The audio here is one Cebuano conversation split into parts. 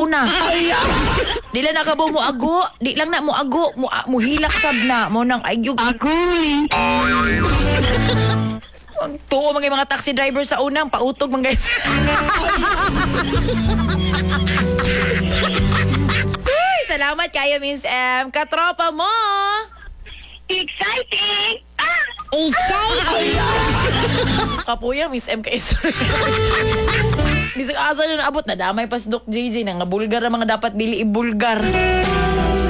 tuna. Di lang nakabaw mo ago, di lang na mo ago, mo muhilak sab na mo nang agyog. Agoy. Tuo mga mga taxi driver sa unang pautog mga guys. Ay, salamat kayo, Miss M. Katropa mo. Exciting! Ah! Exciting! Kapuya, Miss M kay. Bisag asa na naabot, nadamay pa si Doc JJ na nga bulgar ang mga dapat dili ibulgar.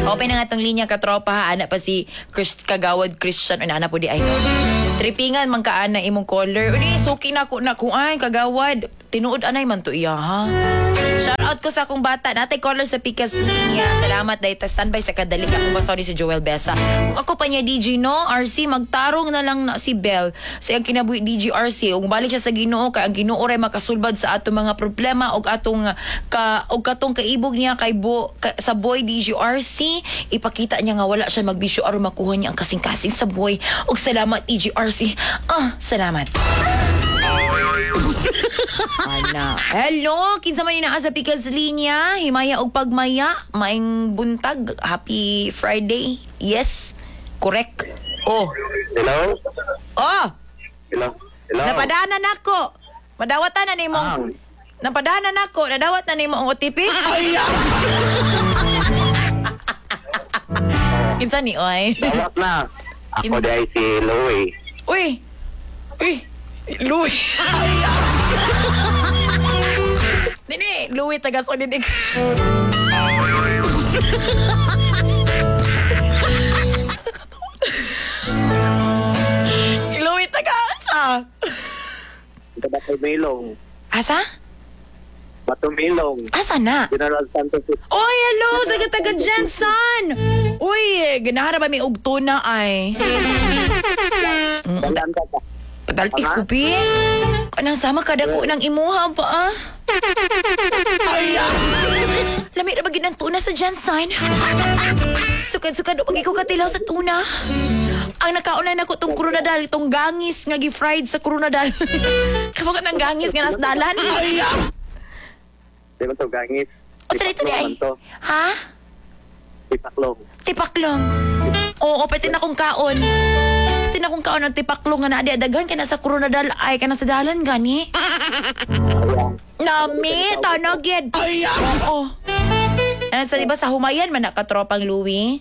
Open na nga tong linya, katropa, ha. Ana pa si Chris, Kagawad Christian. Una, ana po di ay. Tripingan man ka ana imong caller. Uni, suki na ko na kuan kagawad. Tinuod anay man to iya ha. Shout out ko sa akong bata. Natay caller sa Pikas linya. Salamat dahil ta standby sa kadali akong basori si Joel Besa. Kung ako pa niya DJ no, RC magtarong na lang na si Bell sa iyang kinabuhi DJ RC. Ug balik siya sa Ginoo kay ang Ginoo ray makasulbad sa atong mga problema ug atong ka og katong kaibog niya kay bo, ka, sa boy DJ RC, ipakita niya nga wala siya magbisyo aron makuha niya ang kasing-kasing sa boy. Ug salamat DJ RC. Ah, salamat. Ana. Hello, kinsa man ni naa sa Pikas linya, himaya og pagmaya, maing buntag, happy Friday. Yes, correct. Oh. Hello? Oh, Hello? Hello? napadanan nako. Madawatan na nimo. Ah. Napadanan nako, nadawat na nimo ang OTP. Kinsa ni oy? Dawat na. Ako di ay si Louie. Uy. Uy. Louie. Nini, Louie taga Solid X. Louie taga asa? Taga Batumilong. Asa? Batumilong. Asa na? General Santos. Oy, hello! Sa taga Jensen! Uy, ganahan na ba may ugto na ay? Dalan ka ka. Padal ikubi. Kanang sama kada ko ng imuha pa ah. Lami ra ba gid ang tuna sa Jensen? Sukad-sukad pag ikaw katilaw sa tuna. Ang nakauna na ko tong krunadal, tong gangis nga gi-fried sa krunadal. Kamo ka ng gangis nga nasdalan? Di ba to gangis? O sa dito di Tipaklong ay. man to. Ha? Tipaklong. Tipaklong. Oo, pwede na kong kaon. Pwede na kong kaon ang tipaklong nga naadi daghan ka na sa krunadal ay ka na sa dalan gani. Ayan. Nami, tanagid. Oo. Ano sa iba sa humayan man nakatropang Louie?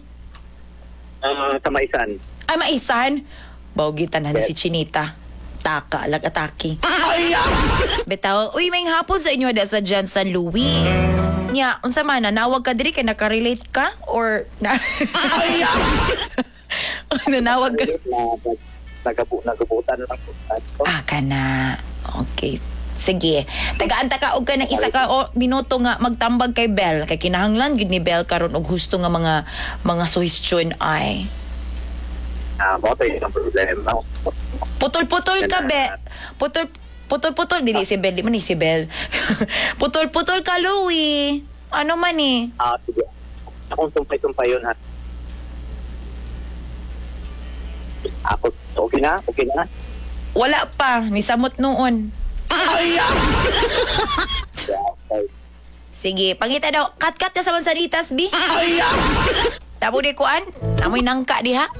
Ah, sa maisan. Ay, maisan. Bawgitan na si Chinita. Taka, lag atake. Bitaw, uy, may hapon sa inyo da sa Jensen Louie. Nya, unsa man nanawag ka diri kay nakarelate ka or na nanawag ka? Na, nagabutan lang po. Ah, kana. Okay. Sige. Tagaan ta ka og ka ng isa ka o minuto nga magtambag kay Bell kay kinahanglan gid ni Bell karon og husto nga mga mga suhestyon ay. Ah, mo to yung problema. Putol-putol ka be. Putol putol-putol dili si Bell, di man ni si Bell. Putol-putol ka Louie. Ano man eh? Ah, sige. Akong sumpay-sumpay yun ha. Ako, okay na? Okay na? Wala pa ni samot noon. Yeah, okay. Sige, pangita daw. Kat-kat na sa mansanitas, bi. Tabo di kuan. Namoy nangka diha.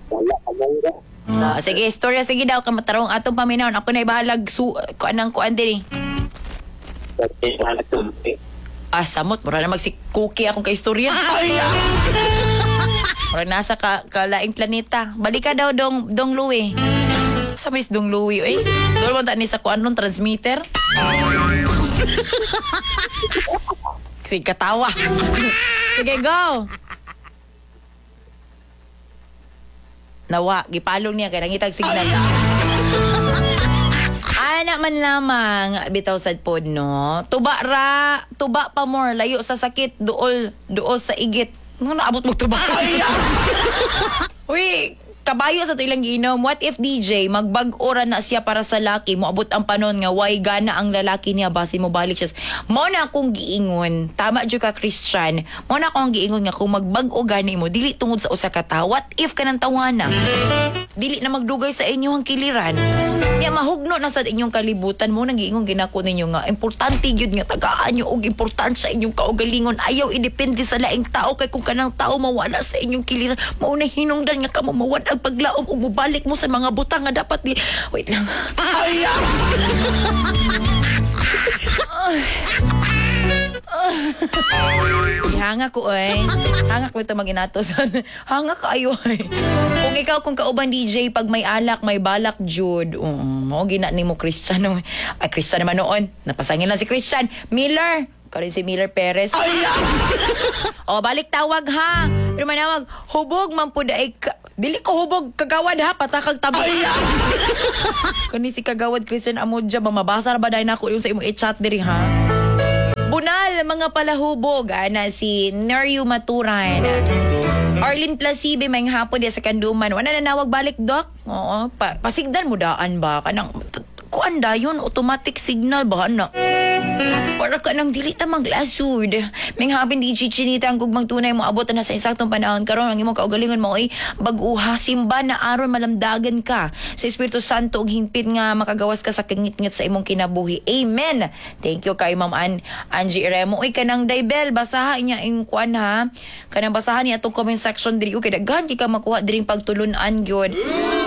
Wala, among Ah, sige, istorya sige daw kamatarong atong paminawon. Ako na ibahalag su kuan ang kuan diri. Ah, samot mura na magsi cookie akong kaistorya. Mura nasa ka kalaing planeta. Balik ka daw dong dong Louie. Sa miss dong Louie oy. Doon mo ta ni sa kuan nun transmitter. Sige, katawa. Sige, go. Nawa, gipalong niya kay nangitag signal. Ana man lamang bitaw sad pod no. Tuba ra, tuba pa more layo sa sakit, duol, duol sa igit. Ano naabot mo tuba? Uy, kabayo sa to ilang giinom. What if DJ magbag-o ra na siya para sa laki, moabot ang panon nga why gana ang lalaki niya basin mo balik siya. Mo na akong giingon, tama jud ka Christian. Mo na akong giingon nga kung magbag-o gani mo dili tungod sa usa ka tawo. What if kanang tawana? Dili na magdugay sa inyo ang kiliran. Nya mahugno na sa inyong kalibutan mo nang giingon ginako ninyo nga importante gyud nga tagaan nyo og importansya inyong kaugalingon. Ayaw idepende sa laing tao kay kung kanang tao mawala sa inyong kiliran, mao na hinungdan nga kamo mawad ang paglaom ug mobalik mo sa mga butang nga dapat di, wait lang. Hanga ko ay. Hanga ko ito maginatos. Hanga kayo ay. Kung ikaw kung kauban DJ pag may alak, may balak Jude. Mo gina nimo Christian. Oh. Ay, Christian naman noon. Napasangin lang si Christian. Miller. Karin si Miller Perez. O, balik tawag ha. Pero manawag, hubog man pud ay ka. Dili ko hubog kagawad ha, patakag tabi. Kani si kagawad Christian Amodja ba mabasa ra ba dahil nako yung sa imong i-chat diri ha? Bunal, mga palahubog, ana si Neryu Maturan. Arlene Placibe, may hapon diya sa Kanduman. Wala nanawag balik, Doc? Oo, pasigdan mo daan ba? Kanang, kuan dayon, automatic signal ba, anak? Para ka nang dili ta maglasud. May hapon DJ Chinita ang gugmang tunay mo abot na sa insaktong panahon karon ang imong kaugalingon mo ay bag-uha simba na aron malamdagan ka sa Espiritu Santo og hingpit nga makagawas ka sa kangitngit sa imong kinabuhi. Amen. Thank you kay Ma'am Angie Remo. Uy, kanang Daibel, basaha niya ing kuan ha. Kanang basahan niya atong comment section diri kay daghan kay ka makuha diring pagtulun-an gyud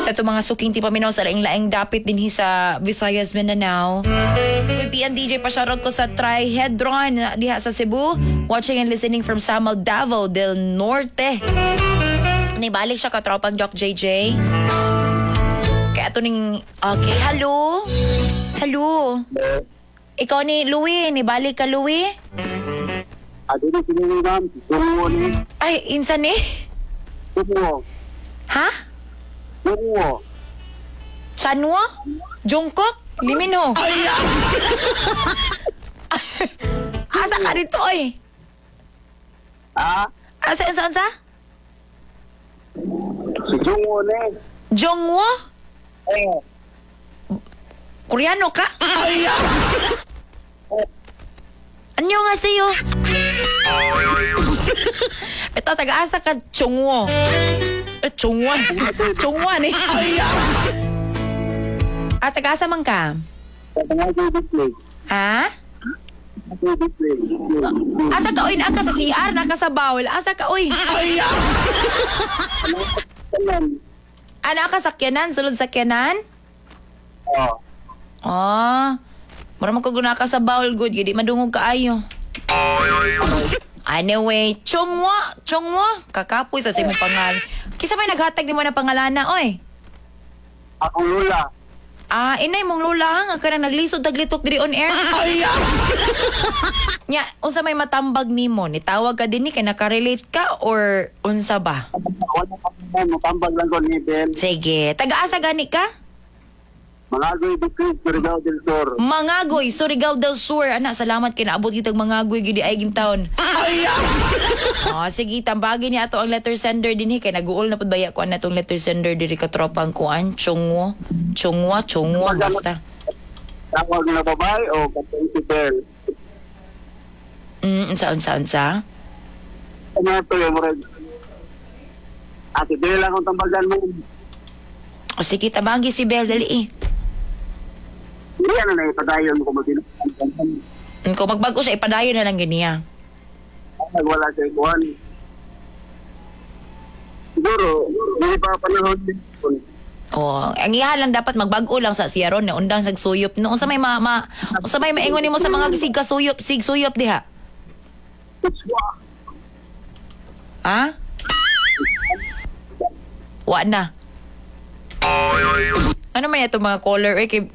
sa atong mga suking ti paminaw sa laing-laing dapit dinhi sa Visayas, Mindanao. Good PM DJ, pa-shoutout ko sa Trihedron diha sa Cebu. Watching and listening from Samal, Davao del Norte. Nibalik siya katropang Jock JJ. Kaya ito ning. Okay, hello? Hello? Ikaw ni Louie, nibalik ka, Louie? Ah, dili sila, ma'am. Tungo ni. Ay, insan eh? Tungo. Ha? Tungo. Chanwo? Jungkook? Limino? Asa ka dito, oy? Ah? Asa, asa, asa? Si Jungo ni. Jongwo? Eh. Koreano ka? Anyo nga sa'yo? Ito, taga-asa ka, Chongwo. Eh, Chongwan. Chongwan eh. Ah, taga-asa man ka? Ha? Asa ka, oy? Naa ka sa CR, naa ka sa bawol. Asa ka, oy? Ah, naa ka sakyanan? Sulod sakyanan? Oh. Ah, mura man ko guna ka sa bawol, good. Di madungog kaayo. Anyway, Chongwa, Chongwa, kakapoy sa imong pangalan. Kisa may naghatag nimo ng pangalana, oy? Akong lula. Ah, inay mong lola nga ka nang naglisod taglitok diri on air. Nya, unsa may matambag nimo? Nitawag ka dinhi kay nakarelate ka or unsa ba? Wala pa mo, matambag lang ko ni Ben. Sige, taga-asa gani ka? Mangagoy District, Surigao del Sur. Mangagoy, Surigao del Sur. Ana, salamat kay naabot kitag Mangagoy gidi ay taon. Ah, sige, tambagin niya ato ang letter sender dinhi kay naguol na pud baya ko ana tong letter sender diri ka tropang kuan, Chongwo, Chongwa, Chongwo basta. Tawag na babae o katong si Bel? Unsa unsa unsa? Ano ito yung murag? Ah, si Bel akong tambagan mo. O sige, tabagi si Bel dali eh. Hindi ano na ipadayon ko mag Kung magbago siya, ipadayon na lang giniya. Wala siya kuhan. Siguro, hindi pa panahon din. Oh, ang iya lang dapat magbago lang sa siya ron, undang sa suyop. No, unsa may ma, ma unsa may maingon nimo sa mga sig kasuyop, sig suyop diha? Ha? Wa na. Ano man ito mga caller eh kay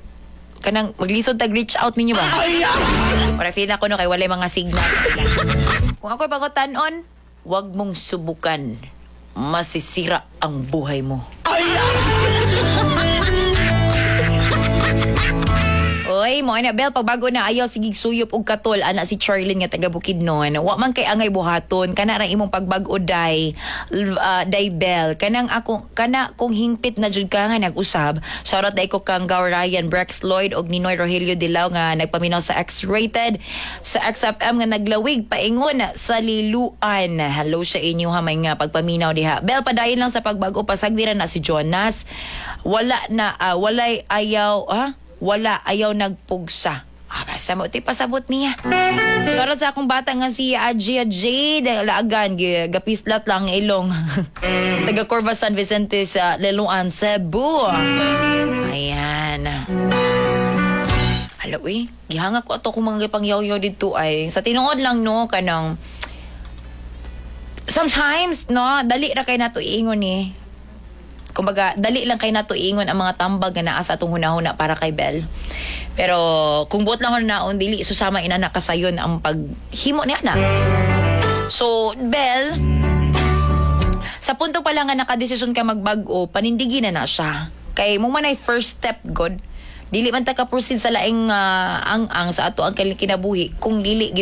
kanang maglisod tag reach out ninyo ba? Para feel ako no kay walay mga signal. Kung ako'y pagutan-on, wag mong subukan. Masisira ang buhay mo. Oy, Okay mo ana, Bel, pagbago na, ayaw sige suyop og katol, ana si Charlene nga taga Bukidnon. Wa man kay angay buhaton kana ra imong pagbag-o, day day Bel, kanang ako kana kung hingpit na jud ka nga nag-usab. Shoutout day ko kang Gaw Ryan, Brex Lloyd og Ninoy Rogelio Dilao nga nagpaminaw sa X-rated sa XFM nga naglawig paingon sa Liluan. Hello sa inyo ha, may nga pagpaminaw diha. Bel, padayon lang sa pagbago, pasagdi ra na si Jonas. Wala na walay ayaw ha, wala ayaw nagpugsa. Ah, basta mo, ito'y pasabot niya. Shoutout sa akong bata nga si Ajia Jade Laagan, gapislat lang ang ilong. Taga Corva San Vicente sa Liloan, Cebu. Ayan. Hala, uy, gihanga ko ato kung mga pangyaw-yaw dito ay. Sa tinuod lang, no, kanang, sometimes, no, dali ra kay nato iingon eh. Kumbaga, dali lang kay nato iingon ang mga tambag nga naa sa atong hunahuna para kay Bel. Pero kung buot lang naon, dili susama inana kasayon ang paghimo niya na. So, Bel, sa punto pa lang nga nakadesisyon ka magbag-o, panindigi na na siya. Kay mo man ay first step good. Dili man ta ka proceed sa laing ang-ang sa ato ang kinabuhi kung dili gid.